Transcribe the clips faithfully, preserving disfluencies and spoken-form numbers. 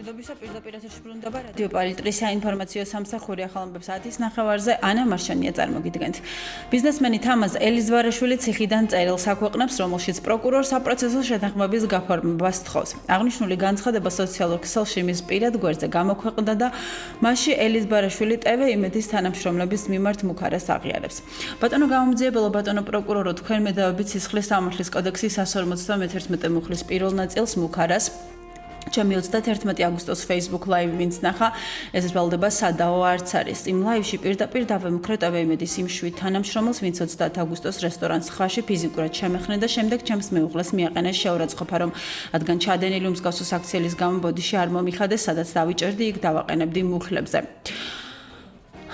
მშვიდობისა პირდაპირ ეთერში ბრუნდება რადიო პალიტრის საინფორმაციო სამსახური ახალამბებს ათის ნახევარზე ანა მარშანია წარმოგიდგენთ. ბიზნესმენი თამაზ ელიზბარაშვილი ციხიდან წერილს აქვეყნებს, რომელშიც პროკურორს საპროცესო შეთანხმების გაფორმებას სთხოვს. აღნიშნული განცხადება სოციალურ ქსელში მის პირად გვერდზე გამოქვეყნდა და მასში ელიზბარაშვილი ტევ იმედის თანამშრომლების მიმართ მუქარას აღიარებს. ბატონო გამომძიებელო, ბატონო პროკურორო, თქვენ მედავებით სისხლის სამართლის კოდექსის εκατს ორმოცდამეთერთმეტე მუხლის პირველ ნაწილს მუქარას ჩემი ოცდაათერთმეტი აგვისტოს Facebook Live ვინც ნახა, ეს ბრალდება სადაო არც არის. იმ ლაივში პირდაპირ დავემუქრე ტევ იმედის იმ შვიდ თანამშრომელს, ვინც ოცდაათი აგვისტოს რესტორანს ხაში ფიზიკურად შემეხნე და შემდეგ ჩემს მეუღლეს მიაყენეს შეურაცხყოფა, რომ რადგან ჩადენილი უმსგავსო საქციელის გამო ბოდიში არ მომიხადეს, სადაც დავიჭერდი, იქ დავაყენებდი მუხლებზე.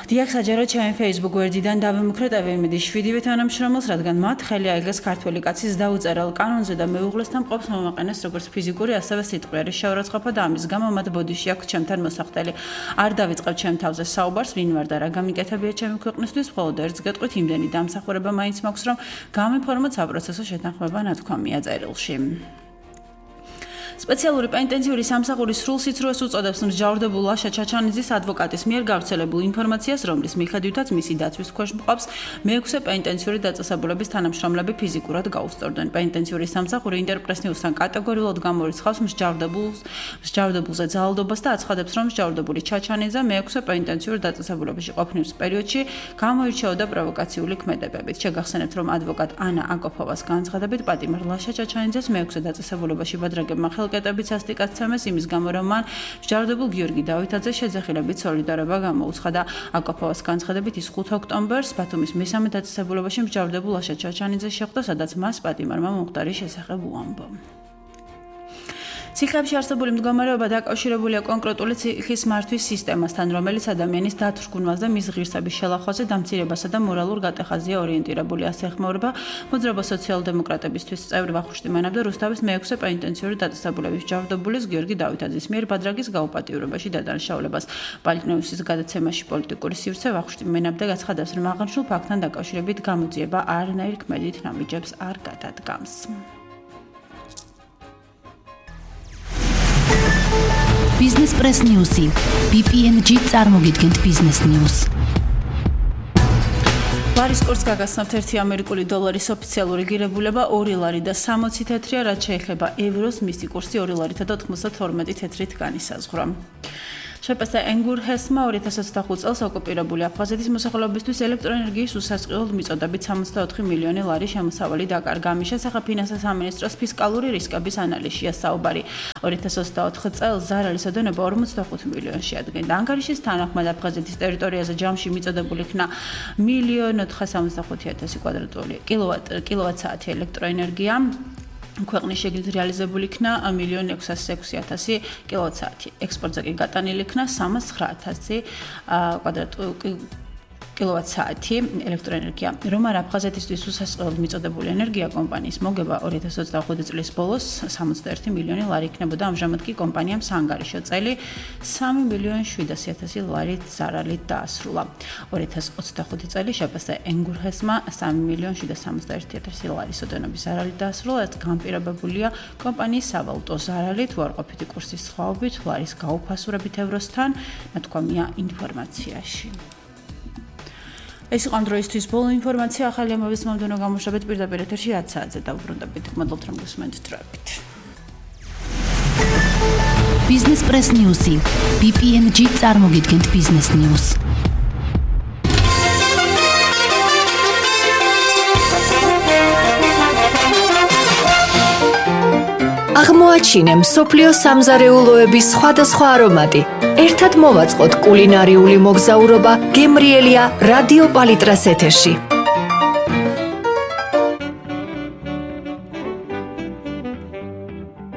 დიახ, საჯაროდ ჩემი Facebook გვერდიდან დავემუქრე ტევ იმედის შვიდივე თანამშრომელს, რადგან მათ ხელი აიგეს ქართველი კაცის დაუწერელ კანონზე და მეუღლესთან მყოფს მომაყენეს როგორც ფიზიკური, ასევე სიტყვიერი შეურაცხყოფა და ამის გამო მათ ბოდიში აქვს ჩემთან მოსახდელი. არ დავიწყებ ჩემ თავზე საუბარს, ვინ ვარ და რა გამიკეთებია ჩემი ქვეყნისთვის, მხოლოდ ერთს გეტყვით, იმდენი დამსახურება მაინც მაქვს, რომ გამიფორმოთ საპროცესო შეთანხმება ნათქვამია წერილში. სპეციალური პენიტენციური სამსახური სრულ სიცრუეს უწოდებს მსჯავრდებულ ლაშა ჩაჩანიძის ადვოკატის მიერ გავრცელებულ ინფორმაციას, რომლის მიხედვითაც მისი დაცვის ქვეშ მყოფს მეექვსე პენიტენციური დაწესებულების თანამშრომლები ფიზიკურად გაუსწორდნენ. პენიტენციური სამსახური ინტერპრესნიუსთან კატეგორიულად გამორიცხავს მსჯავრდებულს, მსჯავრდებულზე ძალადობას და აცხადებს, რომ მსჯავრდებული ჩაჩანიძე მეექვსე პენიტენციურ დაწესებულებაში ყოფნის პერიოდში გამოირჩეოდა პროვოკაციული ქმედებებით. შეგახსენებთ, რომ ადვოკატ ანა აკოფოვას განცხადებით, პატიმარ ლაშა ჩაჩანიძეს მეექვსე დაწესებულებაში ბადრაგებმა ხელკეტებით სასტიკაცემეს იმის გამო, რომ მან მსჯავრდებულ გიორგი დავითაძე შეძახილებით სოლიდარობა გამოუცხადა და აკოფოვას განცხადებით ის ხუთი ოქტომბერს ბათუმის მესამე დაწესებულებაში მსჯავრდებულ ლაშა ჩაჩანიძეს შეხვდა, სადაც მას პატიმარმა მომხდარი შესახებ უამბო. ციხეებში არსებული მდგომარეობა დაკავშირებულია კონკრეტული ციხის მართვის სისტემასთან, რომელიც ადამიანის დათრგუნვას და მის ღირსების შელახვაზე, დამცირებასა და მორალურ გატეხაზია ორიენტირებული. ასე ეხმაურება მოძრაობა სოციალ-დემოკრატებისთვის წევრი ვახუშტი მანაბ და რუსთავის მეექვსე პენიტენციური დაწესებულების მსჯავრდებულის გიორგი დავითაძის მიერ ბადრაგის გაუპატიურებაში დადანაშაულებას. პალიტნეუსის გადაცემაში პოლიტიკური სივრცე ვახუშტი მანაბ გაცხადებს, რომ აღნიშნულ ფაქტთან დაკავშირებით გამოძიება არანაირ ქმედით ნამიჯებს არ გადადგამს. Business Press News-ი ბი პი εν ჯი წარმოგიდგენთ Business News. ლარის კურსს გაგაცნობთ ერთი ამერიკული დოლარის ოფიციალური ღირებულება ორი ლარი და სამოცი თეთრია, რაც შეეხება ევროს, მისი კურსი ორი ლარითა და თხმოცდათორმეტი თეთრით განისაზღვრა. შეპასა ენგურჰესმა ორი ათას ოცდახუთ წელს ოკუპირებული აფხაზეთის მოსახლეობისთვის ელექტროენერგიის უსასყიდლოდ მიწოდებით სამოცდაოთხი მილიონი ლარი შემოსავალი დაკარგა. ამის შესახებ ფინანსთა სამინისტროს ფისკალური რისკების ანალიზშია საუბარი. ორი ათას ოცდაოთხ წელს ზარალის ოდენობა ორმოცდახუთ მილიონს შეადგენდა. ანგარიშის თანახმად აფხაზეთის ტერიტორიაზე ჯამში მიწოდებული იქნა მილიონ ოთხსამოცდახუთი ათასი კვადრატული კილოვატ-საათი ელექტროენერგია. ქვეყნის შეგნით რეალიზებული იქნა მილიონ ექვსას ექვსი ათასი კილოვატ-საათი. ექსპორტზე კი გატანილი იქნა სამას ცხრა ათასი კვადრატული კილოვატ-საათი ელექტროენერგია. რომ არ აფხაზეთისთვის უსასყიდლოდ მიწოდებული ენერგია კომპანიის მოგება ორი ათას ოცდახუთი წლის ბოლოს სამოცდაერთი მილიონი ლარი იქნებოდა. ამჟამად კი კომპანიამ საანგარიშო წელი სამი მილიონი შვიდასი ათასი ლარით ზარალით დაასრულა. ორი ათას ოცდახუთი წელი შეფასდა ენგურჰესმა სამი მილიონი შვიდასი სამოცდაერთი ათასი ლარის ოდენობის ზარალით დაასრულა, რაც განპირობებულია კომპანიის სავალუტო ზარალით, უარყოფითი კურსის სხვაობით, ლარის გაუფასურებით ევროსთან, ნათქვამია ინფორმაციაში. ეს იყო ამ დროისთვის ბოლო ინფორმაცია. ახალი ამბების მომდევნო გამოშვებით პირდაპირ ეთერში ათ საათზე დავუბრუნდებით. მადლობთ, რომ გესმენთ დროებით. Business Press News-ი ბი პი εν ჯი წარმოგიდგენთ Business News. აღმოაჩინე მსოფლიოს სამზარეულოების სხვადასხვა არომატი. ერთად მოვაწყოთ კულინარიული მოგზაურობა გემრიელია რადიო პალიტრას ეთერში.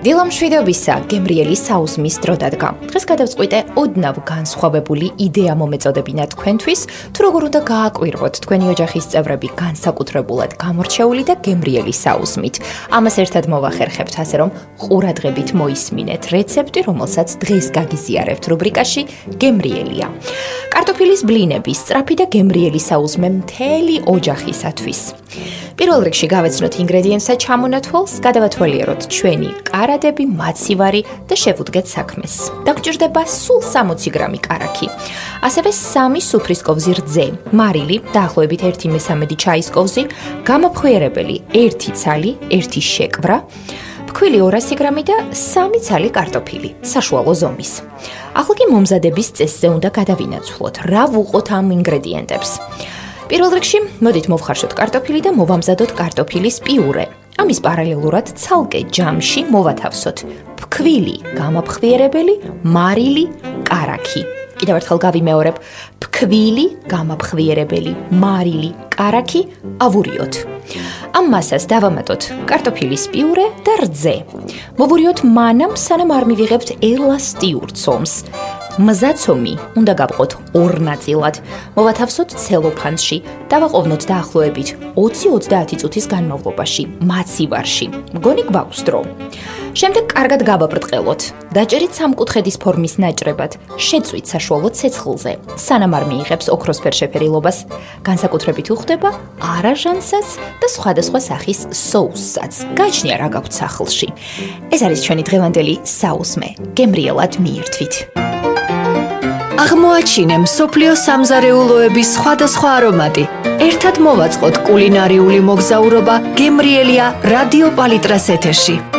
დილამშვიდობისა, გემრიელი საუზმის დრო დადგა. დღეს გადავწყვიტე ოდნავ განსხვავებული იდეა მომეწოდებინა თქვენთვის, თუ როგორ უნდა გააკვირვოთ თქვენი ოჯახის წევრები განსაკუთრებულად გამორჩეული და გემრიელი საუზმით. ამას ერთად მოვახერხებთ, ასე რომ ყურადღებით მოისმინეთ რეცეპტი, რომელსაც დღეს გაგიზიარებთ რუბრიკაში გემრიელია. კარტოფილის ბლინების სწრაფი და გემრიელი საუზმე მთელი ოჯახისათვის. პირველ რიგში გავეცნოთ ინგრედიენტსა ჩამონათვალს, გადავათვალიეროთ ჩვენი კარადები, მაცივარი და შევუდგეთ საქმეს. დაგჭირდება სულ სამოცი გრამი კარაქი. ასევე სამი სუფრის კოვზი რძე, მარილი, დაახლოებით ერთი მესამედი ჩაის კოვზი, გამოფხვიერებელი ერთი ცალი, ერთი შეკვრა, ფქვილი ორასი გრამი და სამი ცალი კარტოფილი, საშუალო ზომის. ახლა კი მომზადების წესზე უნდა გადავინაცვლოთ, რა ვუყოთ ამ ინგრედიენტებს. პირველ რიგში, მოდით მოვხარშოთ კარტოფილი და მოვამზადოთ კარტოფილის პიურე. ამის პარალელურად ცალკე ჯამში მოვათავსოთ ფქვილი, გამაფხვიერებელი, მარილი, კარაქი. კიდევ ერთხელ გავიმეორებ, ფქვილი, გამაფხვიერებელი, მარილი, კარაქი, ავურიოთ. ამ მასას დავამატოთ კარტოფილის პიურე და რძე. მოვურიოთ მანამ, სანამ არ მივიღებთ ელასტიურ ცომს. მზაცომი უნდა გავყოთ ორ ნაწილად. მოვათავსოთ ცელოფანში, დავაყოვნოთ დაახლოებით ოცი ოცდაათი წუთის განმავლობაში, მაცივარში. მგონი გვაქვს დრო. შემდეგ კარგად გავაბრტყელოთ. დაჭერით სამკუთხედის ფორმის ნაჭრებად, შეწვით საშუალო ცეცხლზე, სანამ არ მიიღებს ოქროსფერ შეფერილობას. განსაკუთრებით უხდება არაჟანსაც და სხვადასხვა სახის соуსსაც. გაჩნია რა გაქვთ სახლში. ეს არის ჩვენი დღევანდელი საუზმე. გემრიელად მიირთვით. აღმოაჩინე მსოფლიოს სამზარეულოების სხვადასხვა არომატი. ერთად მოვაწყოთ კულინარიული მოგზაურობა გემრიელია რადიო პალიტრას ეთერში.